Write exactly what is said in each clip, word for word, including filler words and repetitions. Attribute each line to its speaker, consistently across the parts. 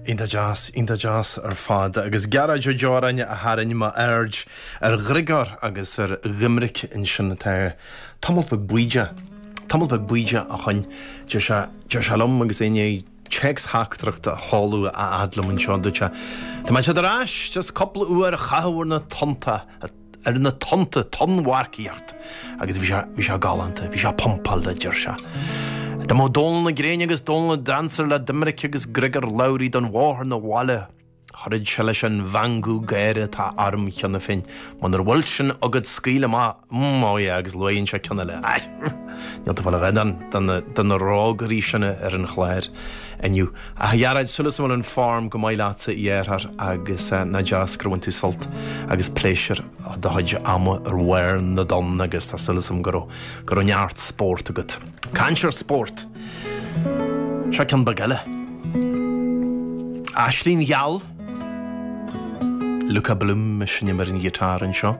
Speaker 1: Iontach deas, iontach deas ar fad agus Gearóid Ó Deoráin a tharraing m'aird ar Ghriogóir agus ar Dhoiminic ansin atá tamall beag bídeach, tamall beag bídeach ó shin. Deir sé, deir sé liom agus é i ndiaidh téacs-theachtaireacht a sheoladh a fhad liom anseo, dúirt sé, Tá mé siad ar ais, just cúpla uair a chaitheamh ar na tonnta, ar na tonnta, tonnmharcaíocht agus bhí sé, bhí sé galánta, bhí sé pumpáilte, a deir sé. Dá mbeadh Dónal na Gréine agus Dónal na Dancer le Doiminic agus Griogair Labhruidh don bhóthar 'na bhaile, chuirfeadh sé leis an mheangadh gáire atá orm cheana féin. Munar bhfuil sin agat scaoil amach, mm, oh yeah, agus luann sé ceann eile. Ai, níl tú fáil a bheith de na, de na rógairí sin ar an chlár inniu. Ach a Ghearóid, súil agam go bhfuil an form go maith leatsa a dheartháir agus nach deas gur bhain tú sult agus pléisiúr do chuid ama ar bharr na dtonn agus tá súil agam go raibh go raibh neart spórt agat. Caint ar spórt. Seo ceann beag eile. Aisling Gheal. Luka Bloom ag seinm ar an ghiotár anseo.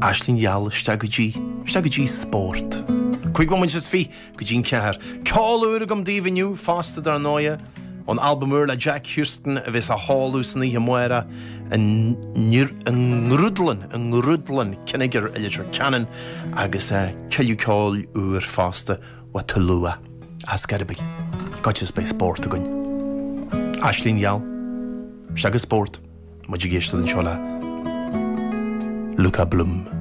Speaker 1: Aisling Gheal isteach go dtí, isteach go dtí spórt. Cúig bhomaite is fiche go dtí an ceathair. Ceol úr agam daoibh inniu fosta dar ndóigh ón albam úr le Jack Houston a bheas á sheoladh san oíche amárach i nGrúdlann, i nGrúdlann Kinnegar i Leitir Ceanainn agus tuilleadh ceoil úr fosta ó Tulua as Gairibigh. Goitse is beidh spórt againn. Aisling Gheal. Isteach go spórt. Muid ag éisteacht anseo le Luka Bloom.